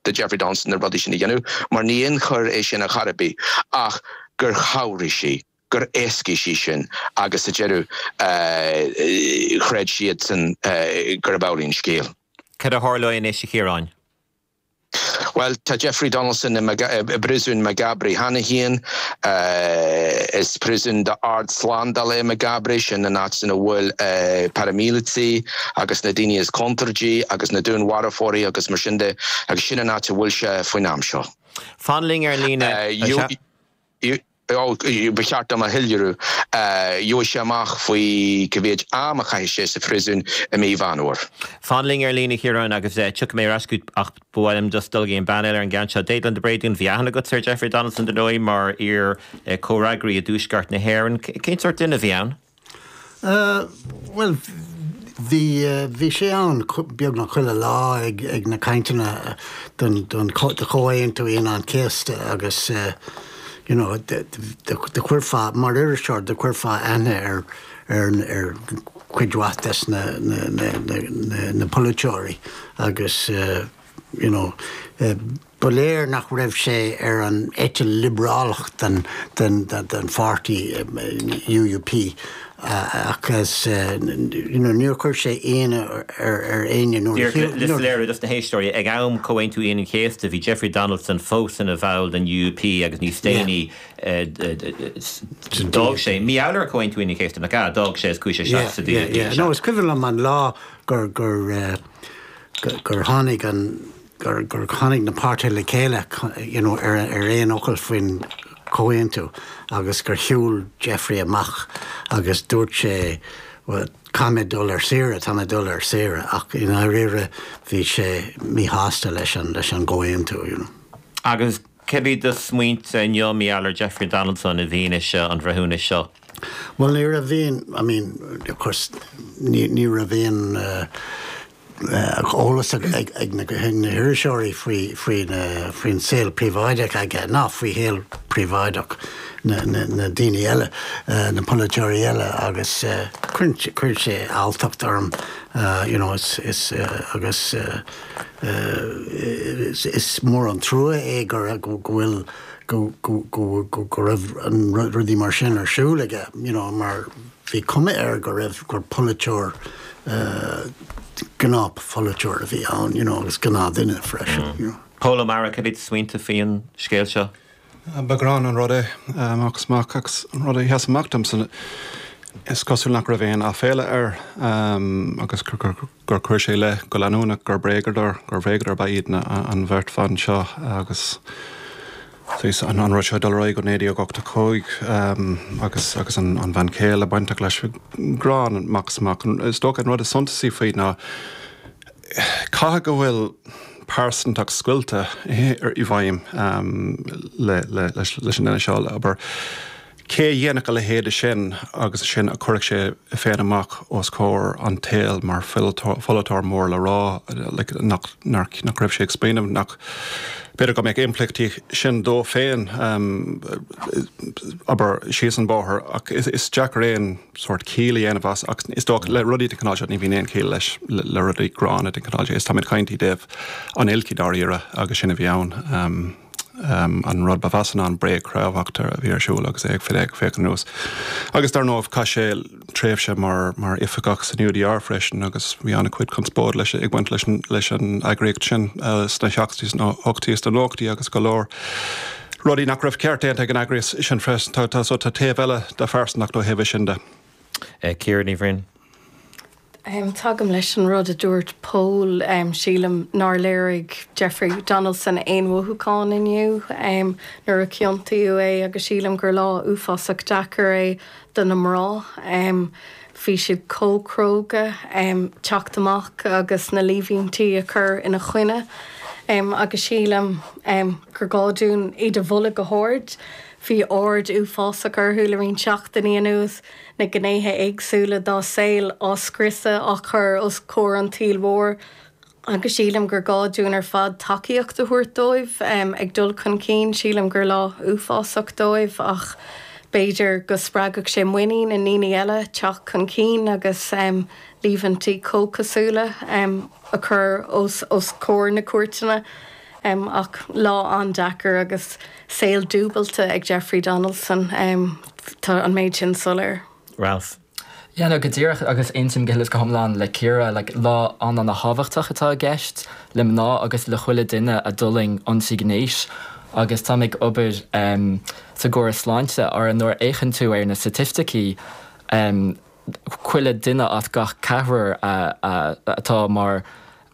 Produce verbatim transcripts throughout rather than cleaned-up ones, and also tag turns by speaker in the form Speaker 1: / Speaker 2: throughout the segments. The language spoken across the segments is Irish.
Speaker 1: do Jeffrey Donaldson na rudaí sin a dhéanamh, mar ní aon choir é sin ar chor ar bith, ach gur chabhraigh sí, gur éascaigh sí sin agus sa deireadh chreid siadsan gurb amhlaidh an scéal.
Speaker 2: Cad a tharlóidh anois, a Chiaráin?
Speaker 1: Bhuel, tá Jeffrey Donaldson i bpríosún Maghaberry cheana féin. Is príosún d'ard-slándáil é Maghaberry, sin an áit ina bhfuil paraimíleataigh agus na daoine is contúirtí agus na dúnmharfóirí agus mar sin de, agus sin an áit a bhfuil sé faoin am seo.
Speaker 2: Fan linn ar líne.
Speaker 1: Ba cheart dom a shoiléiriú, gheobhaidh sé amach faoi cá mhéad am a chaithfidh sé sa phríosún i mí Mheán Fhómhair.
Speaker 2: Fan linn ar líne, a Chiaráin, agus tiocfaidh mé ar ais chugat ach ba mhaith liom just dul go dtí an bean eile ar an gceann seo. Déaglán de Bréadún, bhí aithne agat ar Jeffrey Donaldson dar ndóigh mar iar comhfhreagraí i dTuaisceart na hÉireann. Cén sórt duine a bhí ann?
Speaker 3: Bhuel, bhí bhí sé ann beagnach chuile lá ag ag na cainteanna don don do Chomhaontú Aoine an Chéasta agus you know do chuirfeá mar iriseoir do chuirfeá aithne ar ar ar chuid mhaith des na na na na na polaiteoirí agus you know ba léir nach raibh sé ar an eite liobrálach den den den pháirtí U U P agus you know níor chuir sé ionadh ar ar éinne
Speaker 2: nuair Le soiléiriú dos na héisteoirí, ag am Comhaontú Aoine an Chéasta bhí Jeffrey Donaldson fós ina bhall den U U P agus níos déanaí d'fhág sé mí ar Comhaontú Aoine an Chéasta nach ea, d'fhág sé is chuaigh sé isteach sa D U P.
Speaker 3: No, is cuimhin liom an lá gur gur gur tháinig an gur gur tháinig na páirtithe le chéile you know, ar ar aon fhocal faoin comhaontú agus gur shiúil Jeffrey amach agus dúirt sé, "Well, caithfidh mé dul ar saoire, tá mé dul ar saoire," ach i ndáiríre bhí sé míshásta leis an leis an gcomhaontú. You know.
Speaker 2: Agus céard iad do smaointe inniu mar gheall ar Jeffrey Donaldson i bhfianaise an bhreithiúnais seo?
Speaker 3: Well, ní raibh aon, I mean, of course, ní ní raibh aon uh, eolas ag ag ag na na hiriseoirí faoi faoi faoin saol príobháideach aige ná faoi shaol príobháideach na na na daoine eile, na polaiteoirí eile, agus chuir sé alltacht orm you know, is is agus is is mór an trua é gur go bhfuil go go go go raibh an rudaí mar sin ar siúl aige you know, mar bhí cuma air go raibh gur polaiteoir gnáthpholaiteoir a bhí ann you know, agus gnáthduine freisin. Mm. You know.
Speaker 2: Pól Ó Mearáin, cad iad smaointe faoin scéal seo?
Speaker 4: Ba ghránna an rud é agus amach agus an rud a sheas amach domsa, is cosúil nach raibh aon aiféala air agus gur chuir sé le go leanúnach gur bréagadóir gur bhréagadóir ba iad an bheirt bhan seo agus an an rud seo dul go naoi déag ochtó cúig agus agus an an bhean chéile bainteach leis, gránna amach is amach. Is dócha an rud is suntasaí faoi ná caithfidh go bhfuil pearsantacht scoilte i bhfeidhm leis an duine seo, abair. Cé a dhéanfadh a leithéid sin agus sin a chuirfeadh sé féin amach os comhair an tsaoil mar pholaiteoir mór le rá nach nach raibh sé ag smaoineamh nach b'fhéidir go mbeadh impleachtaí sin dó féin, abair, síos an bóthar, ach is deacair aon sórt ciall a dhéanamh as, ach is dócha le rudaí den chineál seo ní bhíonn aon chiall leis, le rudaí gránna den chineál is táimid ag caint i dtaobh an oilc i ndáiríre agus sin a bhí ann. Um, an rud ba mheasa ná an bréagchráifeacht a bhí ar siúl agus é ag fi féach anuas. Agus dar ndóigh chaith sé tréimhse mar mar oifigeach san U D R freisin agus bhí an-chuid conspóid leis ag baint leis leis an eagraíocht sin uh, sna seachtóidí, sna hochtóidí, sna nóchaidí agus go leor rudaí nach raibh ceart déanta ag an eagraíocht sin freisin. tá tá so tá taobh eile de phearsantacht ó thaobh sin de.
Speaker 2: Ciara Ní Bhroin.
Speaker 5: Um, tagaim leis an rud a dúirt Pól. um, sílim nár léirigh Jeffrey Donaldson aon mhothúchán inniu um, nuair a ciontaíodh é agus sílim gur lá uafásach deacair é do na mná. Um, Bhí siad chomh cróga um, teacht amach agus na líomhaintí a chur ina choinne. Um, agus sílim um, gur gá dúinn iad a mholadh go hard. Bhí aird uafásach orthu le roinnt seachtainí anuas, na gnéithe éagsúla dá saol á scriosadh, á chur os comhair an tsaoil mhóir, agus sílim gur gá dúinn ar fad tacaíocht a thabhairt dóibh um, ag dul chun cinn. Sílim gur lá uafásach dóibh ach b'fhéidir go spreagfadh sé muinín i ndaoine eile teacht chun cinn agus um, líomhaintí comhchosúla um, a chur os, os comhair na cúirteanna. Ach lá an-deacair agus saol dúbailte ag Jeffrey Donaldson, tá an méid sin soiléir.
Speaker 2: Ralph.
Speaker 6: Yeah, no, go díreach agus aontaím go huile is go hiomlán le Ciara like, lá an-an-thábhachtach atá i gceist le mná agus le chuile duine a d'fhulaing ionsaí gnéis agus tá ag obair um, sa gcóras sláinte ar nuair a fhéachann tú ar na staitisticí um, chuile duine as gach ceathrar atá mar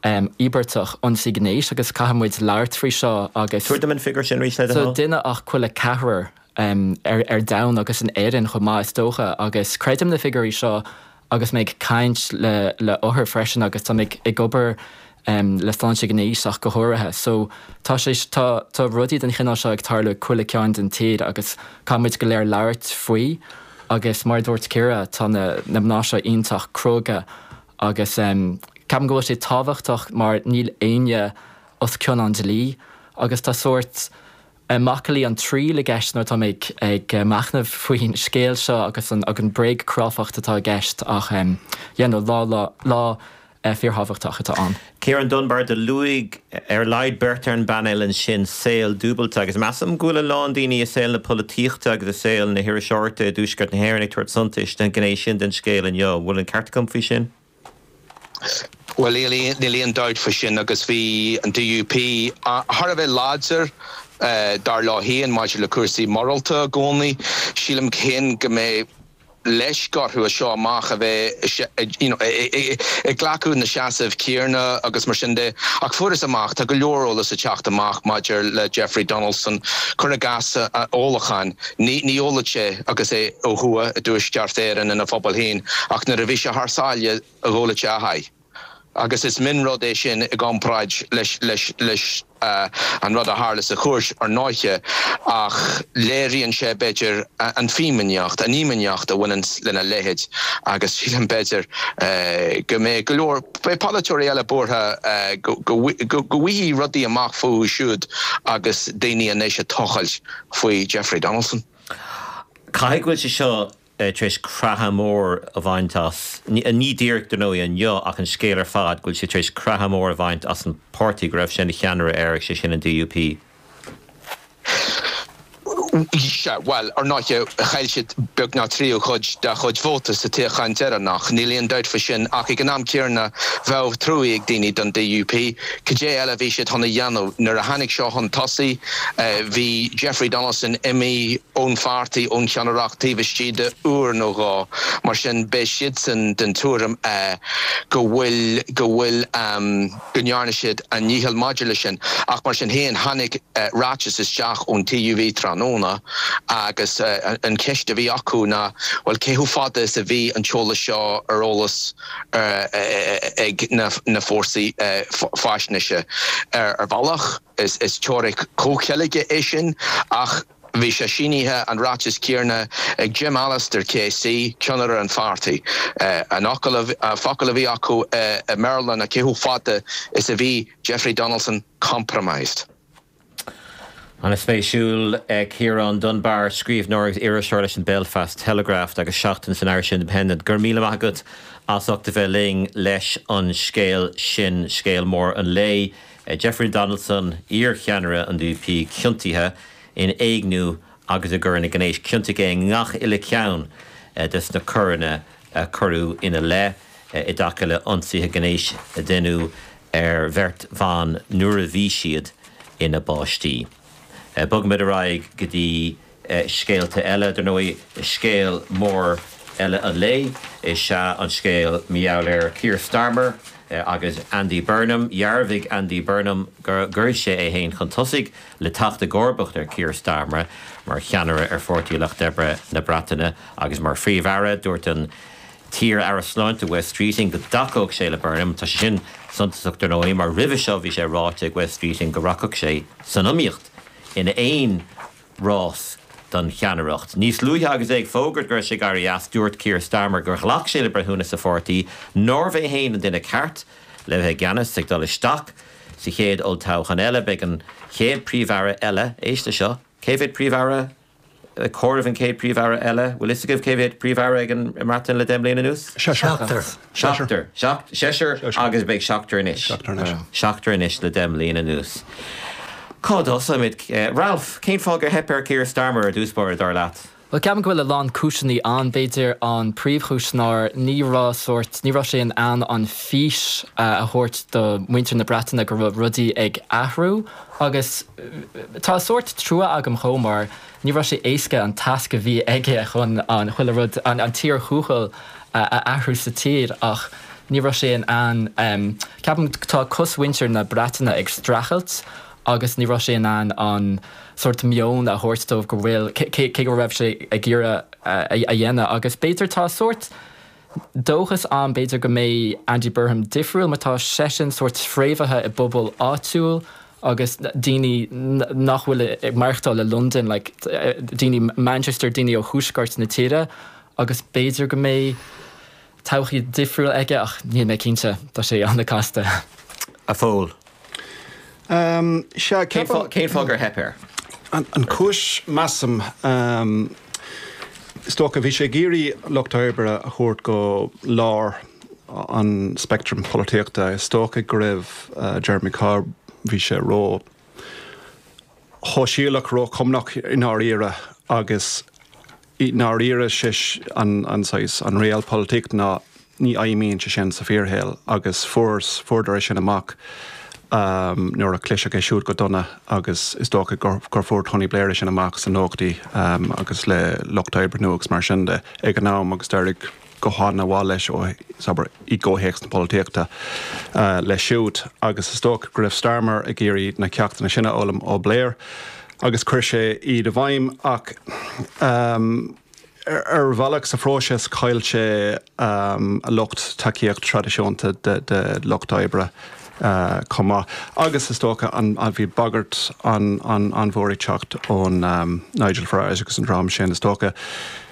Speaker 6: um, íobartach ionsaí gnéis agus caithfidh muid labhairt faoi seo agus
Speaker 2: Tabhair dom an figiúr sin arís le
Speaker 6: so duine as chuile ceathrar um, ar, ar domhan agus in Éirinn chomh maith is dócha agus creidim na figiúirí seo agus mé ag caint le, le othair freisin agus tá ag ag obair um, le sláinte gnéis ach go háirithe. So tá sé tá, tá rudaí den chineál seo ag tarlú chuile chearn den tír agus caithfimid go léir labhairt faoi agus mar dúirt Ciara tá na, na mná seo iontach cróga agus um, ceapaim go bhfuil sé tábhachtach mar níl éinne os cionn an dlí agus tá sórt macallaí an triail i gceist nuair atá mé ag ag machnamh faoin scéal seo agus an ag an bréagchráifeacht atá i gceist ach um, yeah, no, lá lá lá uh, fíorthábhachtach atá ann.
Speaker 2: Ciarán Dunbar do luaigh ar a laghad beirt ar an bpainéal ansin saol dúbailte agus measaim go bhfuil a lán daoine i saol na polaitíochta agus i saol na hiriseoireachta i dTuaisceart na hÉireann ag tabhairt suntais den ghné sin den scéal inniu. Bhfuil an ceart agam faoi sin?
Speaker 1: Well níl aon dabht faoi sin agus bhí an DUP thar a bheith láidir dar leo féin maidir le cúrsaí morálta i gcónaí. Sílim féin go mbeidh leisc orthu as seo amach a bheith ag glacadh na seasamh céanna agus mar sin de ach fuarthas amach tá go leor eolas ag teacht amach maidir le Jeffrey Donaldson cuir i gcás ólachán ní ní óladh sé agus é ó thuaidh i dTuaisceart Éireann ina phobal féin ach nuair a bhí sé thar sáile a dh'óladh sé a sháith. Agus is mionrud é sin i gcomparáid leis leis leis uh, an rud a tharla sa chúirt ar ndóighe ach léiríonn sé b'fhéidir an fhimíneacht, an fhimíneacht a bhaineann lena leithéid agus sílim b'fhéidir uh, go mbeidh go leor beidh polaiteoirí eile buartha uh, go go bhfaighidh rudaí amach fúthu siúd agus daoine anois ag tochailt faoi Jeffrey Donaldson.
Speaker 2: Caithfidh go bhfuil sé seo tar éis creathadh mór a bhaint as, ní díreach dar ndóigh inniu ach an scéal ar fad go bhfuil sé tar éis creathadh mór a bhaint as an páirtí go raibh sé ina cheannaire air sé sin an DUP.
Speaker 1: Sea, bhuel, ar ndóighe chaill siad beagnach tríú cuid dá chuid vóta sa toghchán deireanach, níl aon dabht faoi sin ach ag an am céanna bheadh trua ag daoine don DUP. Cad é eile a bhí siad chun a dhéanamh nuair a tháinig seo chun tosaigh, bhí Jeffrey Donaldson imithe ón pháirtí ón cheannaireacht taobh istigh de uair nó dhó, mar sin beidh siadsan den tuairim go bhfuil go bhfuil go ndearna siad a ndícheall maidir leis sin. Ach mar sin féin tháinig ráiteas isteach ón TUV tráthnóna agus an cheist a bhí acu ná bhuel cé chomh fada is a bhí an t-eolas seo ar eolas ag na fórsaí faisnéise ar bhealach is is teoiric comhcheilge é sin ach bhí sé sínithe an ráiteas céanna ag Jim Allister KC ceannaire an pháirtí. An focal a bhí acu i mBéarla ná cé chomh fada is a bhí Jeffrey Donaldson compromised.
Speaker 2: An-spéisiúil Ciarán Dunbar, scríbhneoir agus iriseoir leis an Belfast Telegraph agus seachtain san Irish Independent. Go raibh míle maith agat as ucht a bheith linn leis an scéal sin scéal mór an lae. Jeffrey Donaldson iarcheannaire an DUP ciontaithe in éigniú agus i gcoireanna gnéis ciontaithe i ngach uile cheann des na coireanna a cuireadh ina leith i dtaca le ionsaithe gnéis a deineadh ar bheirt bhan nuair a bhí siad ina bpáistí. Bogfaimid ar aghaidh go dtí scéalta eile, dar ndóigh scéal mór eile an lae is ea an scéal mar gheall ar Keir Starmer agus Andy Burnham. Dhearbhaigh Andy Burnham gur chuir sé é féin chun tosaigh le teacht i gcomharbacht ar Keir Starmer mar cheannaire ar Pháirtí Lucht Oibre na Breataine agus mar Phríomh-Aire dúirt an t-iar-aire sláinte Wes Streeting go dtacódh sé le Burnham. Tá sé sin suntasach dar ndóigh mar roimhe seo bhí sé ráite ag Wes Streeting go rachadh sé san iomaíocht in aon rás don cheannaireacht. Níos luaithe agus é ag fógairt go raibh sé ag éirí as dúirt Keir Starmer gur ghlac sé le breithiúnas a pháirtí nárbh é féin an duine ceart le bheith i gceannas ag dul isteach sa chéad olltoghchán eile beidh an chéad príomh-aire eile éist leis seo cé mhéad príomh-aire comhaireamh an chéad príomh-aire eile bhfuil fhios agaibh cé mhéad príomh-aire ag an mBreatain le deich mbliana anuas?
Speaker 3: Seachtar.
Speaker 2: Seachtar. Seisear agus beidh seachtar anois. Seachtar anois le deich mbliana anuas. Cá dtosaímid Ralph, cén fáth gur theip ar Keir Starmer ar dtús báire dar leat?
Speaker 6: Well ceapaim go bhfuil a lán cúiseanna ann b'fhéidir an príomhchúis ná ní raibh sórt ní raibh sé in ann an fís a thabhairt do mhuintir na Breataine go raibh rudaí ag athrú agus tá sórt trua agam chomh mar ní raibh sé éasca an tasc a bhí aige chun an chuile rud an, an tír thuathail a athrú sa tír ach ní raibh sé in ann um, ceapaim tá cosmhuintir na Breataine ag streachailt agus ní raibh sé in ann an sórt meon a thabhairt dóibh go bhfuil cé go raibh sé ag iarraidh a dhéanamh agus b'fhéidir tá sórt dóchas ann b'fhéidir go mbeidh Andy Burnham difriúil mar tá seisean sórt fréamhaithe i bpobal áitiúil agus daoine nach bhfuil ag maireachtáil le London like, daoine Manchester daoine ó thuaisceart na tíre agus b'fhéidir go mbeidh todhchaí difriúil aige ach níl mé cinnte tá sé an-chasta.
Speaker 2: A Phóil.
Speaker 4: Um,
Speaker 2: Cén fáth gur theip air?
Speaker 4: An, an chúis measaim um, is dócha bhí sé ag iarraidh lucht oibre a thabhairt go lár an spectrum polaitíochta is dócha go raibh uh, Jeremy Corbyn bhí sé ró shóisialach róchumannach i ndáiríre agus i ndáiríre sé an, an, an realpolitik ná ní fheidhmíonn sé sin sa fíorshaol agus fuair fuaireadar sin amach um, nuair a cliseadh é siúd go dona agus is dócha gur, gur fuair Tony Blair sin amach san nóchaidí um, agus le lucht oibre nua agus mar sin de ag an am agus d'éirigh go han-mhaith leis ó sabar i gcomhthéacs na polaitíochta uh, leis siúd agus is dócha go raibh Starmer ag iarraidh na ceachtanna sin a fhoghlaim ó Blair agus chuir sé iad i bhfeidhm ach um, ar bhealach sa phróiseas chaill sé um, a lucht tacaíocht traidisiúnta de, de lucht oibre. Uh, chomh maith. Agus is dócha an, an bhí bagairt an, an, an mhór ag teacht ón um, Nigel Farage agus an dream sin is dócha.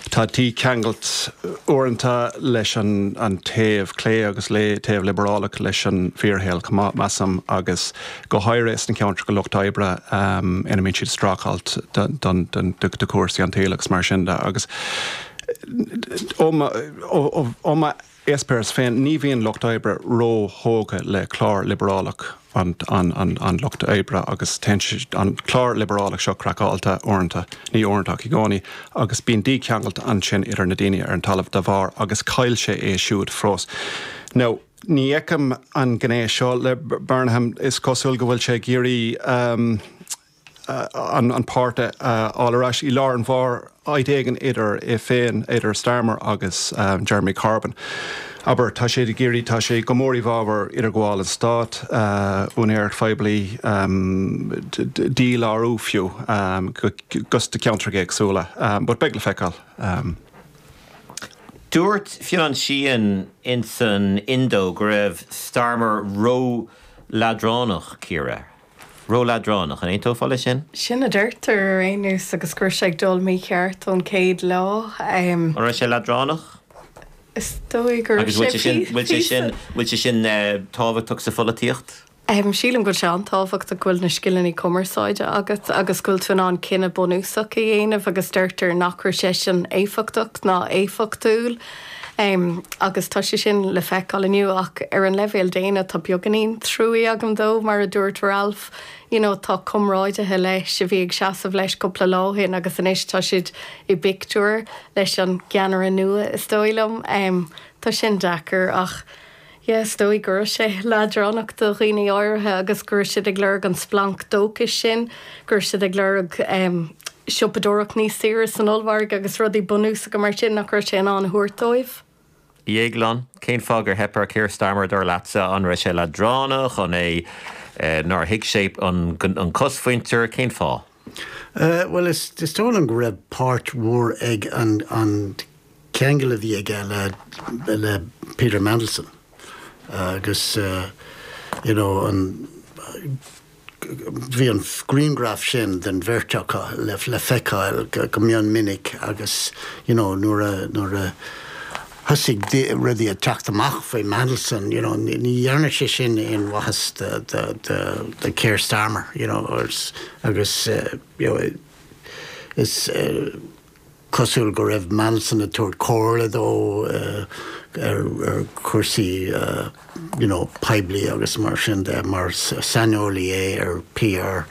Speaker 4: Tá tí ceangailt uaireanta leis an, an taobh clé agus le taobh liobrálach leis an bhfíorshaol measaim agus go háirithe sna ceantracha lucht oibre um, ina mbíonn siad streachailt do chúrsaí an tsaoil agus mar sin de agus ó eispéireas féin ní bhíonn lucht oibre róthógtha le clár liobrálach an, an, an, an lucht oibre agus an clár liobrálach seo craiceáilte uaireanta ní uaireanta i gcónaí agus bíonn dícheangailt ansin idir na daoine ar an talamh de bharr agus chaill sé é siúd fós. Now, ní fheicim an gné seo le Burnham is cosúil go bhfuil sé ag iarraidh um, uh, an, an páirtí uh, ar ais i lár an bhairr áit éigin idir é féin idir Starmer agus um, Jeremy Corbyn. Aber tá sé ag iarraidh tá sé go mór i bhfabhar idirghabháil an stáit uh, úinéireacht phoiblí um, dílárú fiú um, gus de ceantar éagsúla, um, but beidh le feiceáil. Um.
Speaker 2: Dúirt Fionn Sheahan in san Indo go raibh Starmer ró leadránach Ciara. Ró-leadránach an aontófá leis sin?
Speaker 5: Sin a deirtear ar aon nós agus gur sé dul mícheart ón céad lá.
Speaker 2: An raibh sé leadránach?
Speaker 5: Is dóigh gur
Speaker 2: Agus bhfuil sé sin bhfuil sé sin tábhachtach sa pholaitíocht?
Speaker 5: Um, sílim go sé an-tábhachtach go bhfuil na scileanna cumarsáide agat agus go bhfuil tú in ann cinneadh bunúsach a dhéanamh agus deirtear nach raibh sé sin éifeachtach ná éifeachtúil. Um, agus tá sé sin le feiceáil inniu ach ar an leibhéal daonna tá beagáinín trua agam dó mar a dúirt Ralph, you know, tá comrádaithe leis a bhí ag seasamh leis cúpla lá ó shin agus anois tá siad i bpictiúr leis an gceannaire nua is dóigh liom. Um, tá sin deacair ach Yes, dóigh gur sé leadránach do dhaoine áirithe agus gur siad ag lorg an splanc dóchais sin, gur siad ag lorg um, siopadóireacht níos saoire san ollmhargadh agus rudaí bunúsacha mar sin nach raibh sé in ann a thabhairt dóibh.
Speaker 2: Dhéagláin, cén fáth gur theip ar Keir Starmer dar leatsa an raibh sé leadránach an é eh, nár thuig sé an, an cosmhuintir cén fáth?
Speaker 3: Uh, well is is dóigh liom go raibh páirt mhór ag an, an ceangal a bhí aige le, le Peter Mandelson. Uh, agus uh, you know, an bhí an grianghraf sin den bheirt acu le le feiceáil go, go mion minic agus you know, nuair a nuair a thosaigh rudaí ag teacht amach faoi Mandelson, you know, ní dhearna sé sin aon mhaitheas de, de, de, de Keir Starmer, you know, agus, agus uh, you know, is uh, cosúil go raibh Mandelson ag tabhairt comhairle dó uh, ar, ar chúrsaí uh, you know, poiblí agus mar sin de mar saineolaí é ar PR